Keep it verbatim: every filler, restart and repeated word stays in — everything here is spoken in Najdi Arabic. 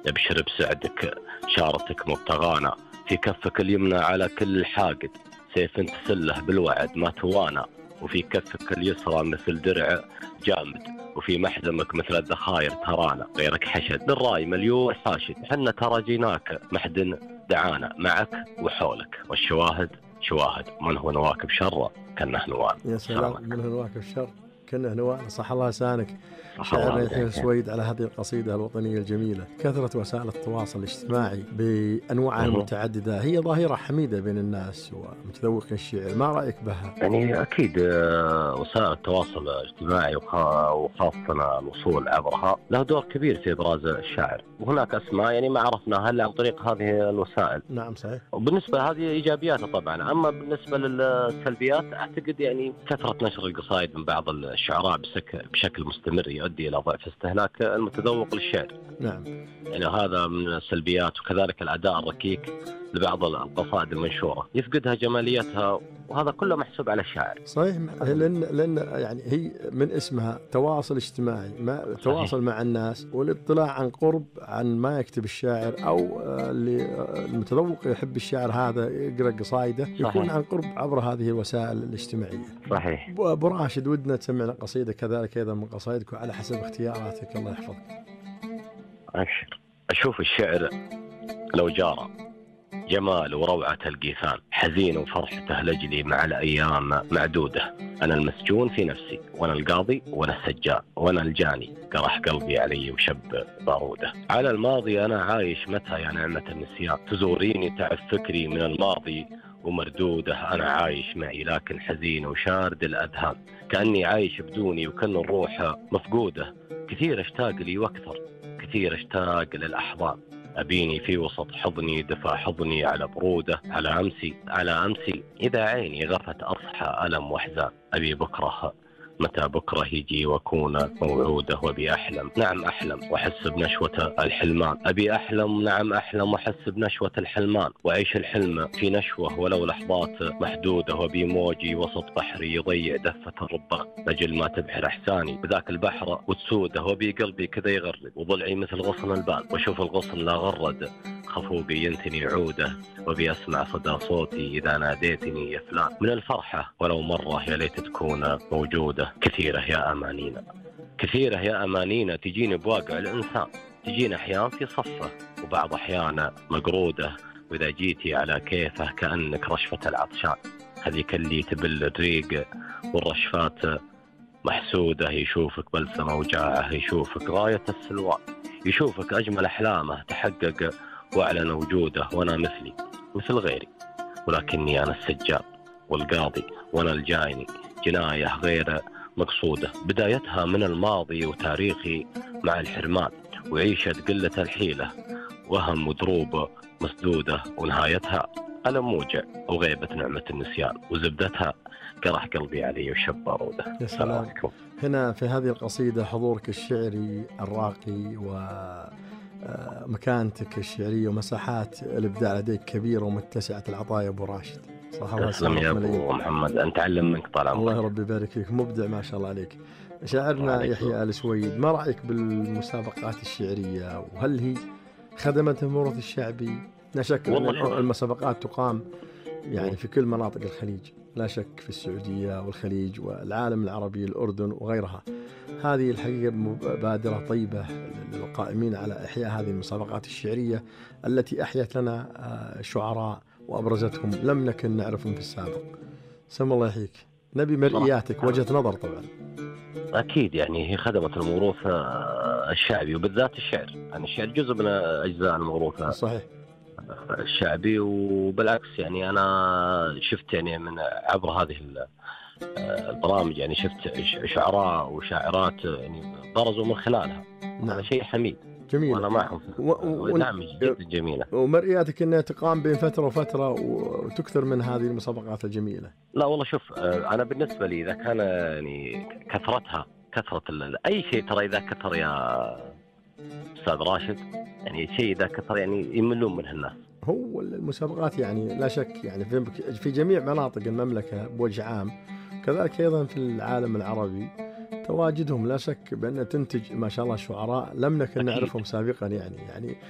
ابشر بسعدك شارتك مبتغانا، في كفك اليمنى على كل حاقد سيف تسله بالوعد ما توانى، وفي كفك اليسرى مثل درع جامد، وفي محزمك مثل الذخاير ترانا، غيرك حشد للراي مليون حاشد، حنا ترى جيناك محد دعانا معك وحولك، والشواهد شواهد من هو نواكب شر كنه نوال. يا سلام، من هو نواكب شر كنه نوال. صح الله لسانك شاعرنا يحيى السويد على هذه القصيدة الوطنية الجميلة. كثرة وسائل التواصل الاجتماعي بأنواعها المتعددة هي ظاهرة حميدة بين الناس ومتذوق الشعر، ما رأيك بها؟ يعني أكيد وسائل التواصل الاجتماعي وخاصة الوصول عبرها له دور كبير في إبراز الشاعر، وهناك أسماء يعني ما عرفناها إلا عن طريق هذه الوسائل. نعم صحيح. وبالنسبة هذه إيجابياتها طبعا، أما بالنسبة للسلبيات أعتقد يعني كثرة نشر القصائد من بعض الشعراء بشكل مستمر يؤدي إلى ضعف استهلاك المتذوق للشعر. نعم. يعني هذا من السلبيات، وكذلك الأداء الركيك لبعض القصائد المنشورة يفقدها جماليتها، وهذا كله محسوب على الشاعر. صحيح، لأن لأن يعني هي من اسمها تواصل اجتماعي، ما تواصل مع الناس والاطلاع عن قرب عن ما يكتب الشاعر، أو اللي المتذوق يحب الشاعر هذا يقرأ قصائده يكون عن قرب عبر هذه الوسائل الاجتماعية. صحيح. أبو راشد، ودنا تسمعنا قصيدة كذلك أيضا من قصائدك وعلى حسب اختياراتك، الله يحفظك. أبشر. أشوف الشعر لو جارى جمال وروعة القيثان، حزين وفرحته لجلي مع الأيام معدودة، أنا المسجون في نفسي وأنا القاضي وأنا السجان وأنا الجاني، قرح قلبي علي وشب باروده، على الماضي أنا عايش متى يا نعمة النسيان، تزوريني تعب فكري من الماضي ومردوده، أنا عايش معي لكن حزين وشارد الأذهان، كأني عايش بدوني وكأن الروح مفقودة، كثير اشتاق لي واكثر كثير اشتاق للأحضان، أبيني في وسط حضني دفع حضني على برودة، على أمسي على أمسي إذا عيني غفت أصحى ألم وحزان، أبي بكره متى بكره يجي وأكون موعوده، وأبي أحلم نعم أحلم وأحس بنشوة الحلمان، أبي أحلم نعم أحلم وأحس بنشوة الحلمان، وأعيش الحلم في نشوة ولو لحظات محدودة، وأبي موجي وسط بحري يضيع دفة الربان، لجل ما تبحر أحساني بذاك البحر وتسوده، وأبي قلبي كذا يغرد وضلعي مثل غصن البال، وأشوف الغصن لا غرد خفوقي ينتني عوده، وبي أسمع صدى صوتي إذا ناديتني يا فلان، من الفرحة ولو مرة يا ليت تكون موجودة، كثيرة يا أمانينا كثيرة يا أمانينا تجيني بواقع الإنسان، تجينا أحيان في صفة وبعض أحيان مقرودة، وإذا جيتي على كيفه كأنك رشفة العطشان، هذيك اللي تبل الريق والرشفات محسودة، يشوفك بلسمة وجاعه يشوفك غاية السلوان، يشوفك أجمل أحلامه تحقق وأعلن وجوده، وأنا مثلي مثل غيري ولكني أنا السجاد والقاضي وأنا الجايني، جناية غير مقصودة بدايتها من الماضي وتاريخي مع الحرمان، وعيشة قلة الحيلة وهم ودروب مسدودة، ونهايتها ألم موجع وغيبة نعمة النسيان، وزبدتها قرح قلبي علي وشب باروده. يا سلام. هنا في هذه القصيدة حضورك الشعري الراقي ومكانتك الشعرية ومساحات الإبداع لديك كبيرة ومتسعة العطايا أبو راشد. صح الله يسلمك يا أبو محمد، أنت علم منك طال عمرك. الله ربي يبارك فيك، مبدع ما شاء الله عليك. شاعرنا يحيى السويد، ما رأيك بالمسابقات الشعرية، وهل هي خدمت الموروث الشعبي؟ لا شك أن المسابقات تقام يعني في كل مناطق الخليج، لا شك في السعودية والخليج والعالم العربي الأردن وغيرها. هذه الحقيقة مبادرة طيبة للقائمين على إحياء هذه المسابقات الشعرية التي أحيت لنا شعراء وأبرزتهم لم نكن نعرفهم في السابق. سم الله يحييك، نبي مرئياتك، وجهة نظر طبعا. أكيد يعني هي خدمت الموروث الشعبي وبالذات الشعر، يعني الشعر جزء من أجزاء الموروث صحيح الشعبي، وبالعكس يعني أنا شفت يعني من عبر هذه البرامج يعني شفت شعراء وشاعرات يعني برزوا من خلالها. نعم. هذا شيء حميد جميل، وأنا معهم و... و... نعم جدا جميلة، ومرئياتك أنها تقام بين فترة وفترة وتكثر من هذه المسابقات الجميلة. لا والله شوف، أنا بالنسبة لي إذا كان يعني كثرتها كثرة أي شيء، ترى إذا كثر يا أستاذ راشد يعني شيء إذا كثر يعني يملون منه الناس. هو المسابقات يعني لا شك يعني في في جميع مناطق المملكة بوجه عام، كذلك أيضا في العالم العربي تواجدهم لا شك بأن تنتج ما شاء الله شعراء لم نكن نعرفهم سابقا، يعني يعني